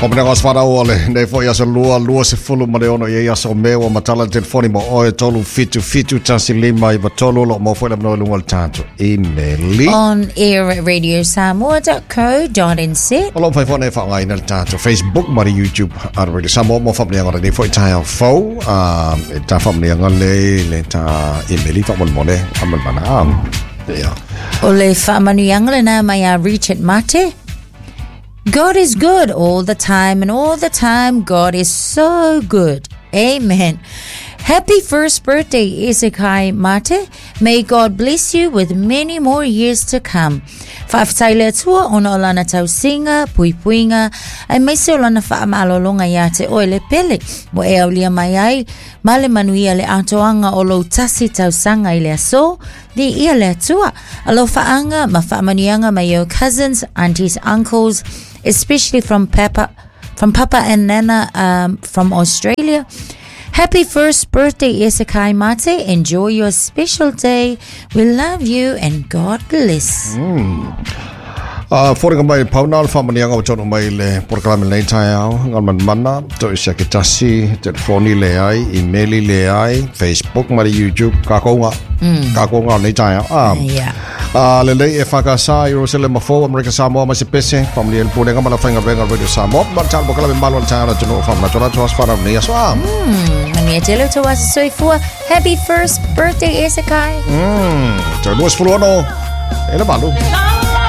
Faamanuiaga o aso fanau o lenei foi aso lua, 26 i aso o Me ua matala le telefoni mo oe 377 1 5 9 3 o lo o maua foi le avanoa i luga o le tatou imeli. On air at radiosamoa.co.nz. O lo o mafai foi ona e faaaogaina le tatou Facebook ma le YouTube a Radio Samoa mo faamanuiaga o lenei foi taeao fou. E ta faamanuiaga le le ta imeli faamolemole faamolemana. Yeah. O le faamanuiaga lena mai a Richard Mate. God is good all the time, and all the time God is so good. Amen. Happy first birthday, Isekai Mate. May God bless you with many more years to come. Faafetai le Atua ona o lana tausiga, puipuiga, aemaise o lana faamalologa iā te oe le pele, ua e aulia mai ai ma le manuia le atoaga o lou tasi tausaga i le aso. Viia le Atua. Alofaaga ma faamanuiaga mai ou cousins, aunties, uncles, especially from Papa, from Papa and Nana from Australia. Happy first birthday, Isekai Mate. Enjoy your special day. We love you and God bless. Foliga mai pau na o le faamanuiaga ua taunuu mai i le polokalame lenei taeao, Galumalemana, Toesiake Tasi, telefoni leai, imeli leai, Facebook ma le YouTube, kākou ga, kākou ga o lenei taeao. Yeah. Lelei e whakasa i Jerusalem fou, Amerika Samoa ma se pese, whamunia le pulega ma la whainga venga Radio Samoa, ma le talo polokalame malo le taeao na tunu o whamanatu la tuas whanau nei aso. Manuia tele o tou aso soifua. Happy first birthday, Isekai. Te 26 e le valu.